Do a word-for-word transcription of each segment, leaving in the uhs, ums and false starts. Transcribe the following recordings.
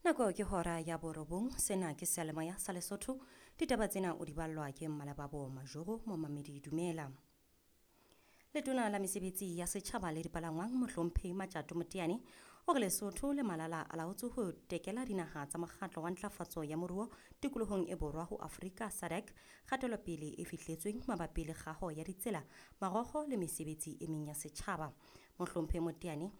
Nako ke hora ya borobong, sena ke seyalemoya sa Lesotho. Ditaba tsena o di ballwa ke Mmalebabo Majoro, momamedi dumela. Letona la mesebetsi ya setjhaba le dipalangwang Mohlomphehi Matjato Moteane o re Lesotho le Malala a laotse ho tekela dinaha tsa mokgatlo wa ntlafatso ya moruo tikolohong e borwa ho Afrika SADC kgatelopele e fihletsweng mabapi le kgaho ya ditsela, marokgo le mesebetsi e meng ya setjhaba. Mohlomphehi Moteane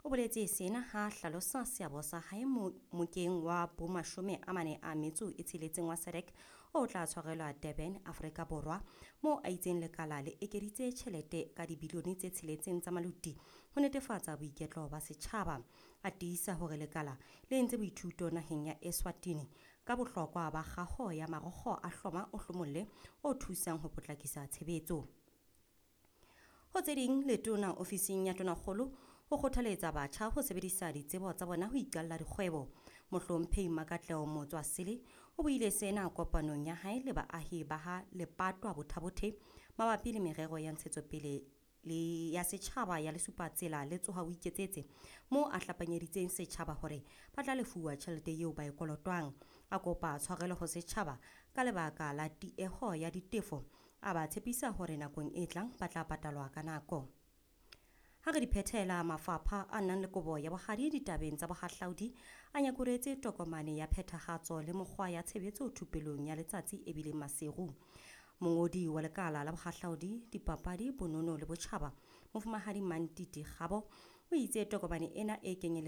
o boletse sena ha hlalosa seabo sa hae mokeng wa bomashome a mane a metso e tsheletseng wa SADC o tla tshwarelwa Durban, Afrika Borwa, moo a itseng lekala le ekeditse tjhelete ka dibilione tse tsheletseng tsa maluti ho netefatsa boiketlo ba setjhaba. A tiisa hore lekala le entse boithuto naheng ya Eswatini ka bohlokwa ba kgaho ya marokgo a hloma o hlomolle o thusang ho potlakisa tshebetso. Ho tse ding, letona ofising ya Tonakgolo o kgothaletsa batjha ho sebedisa ditsebo tsa bona ho iqalla dikgwebo. Mohlomphehi Makatleho Motswasele o buile sena kopanong ya hae le baahi ba ha Lepatwa Botha-Bothe mabapi le merero ya ntshetsopele le ya setjhaba ya Lesupatsela le Tsoha o Iketsetse, moo a hlapanyeditseng setjhaba hore ba tla lefuwa tjhelete eo ba e kolotwang. A kopa tshwarelo ho setjhaba ka lebaka la tieho ya ditefo, a ba tshepisa hore nakong e tlang ba tla patalwa ka nako. Ha re di phethela, mafapha a nang le kobo ya bohadi ditabeng tsa bohahlaudi a nyakuretse tokomane ya phethahatso le mokgwa ya tshebetso thupelong ya letsatsi e bileng Maseru. Mongodi wa lekala la bohahlaudi, dipapadi, bonono le botjhaba, Mofumahadi Mantiti Kgabo, o itse tokomane ena e kenyelletsa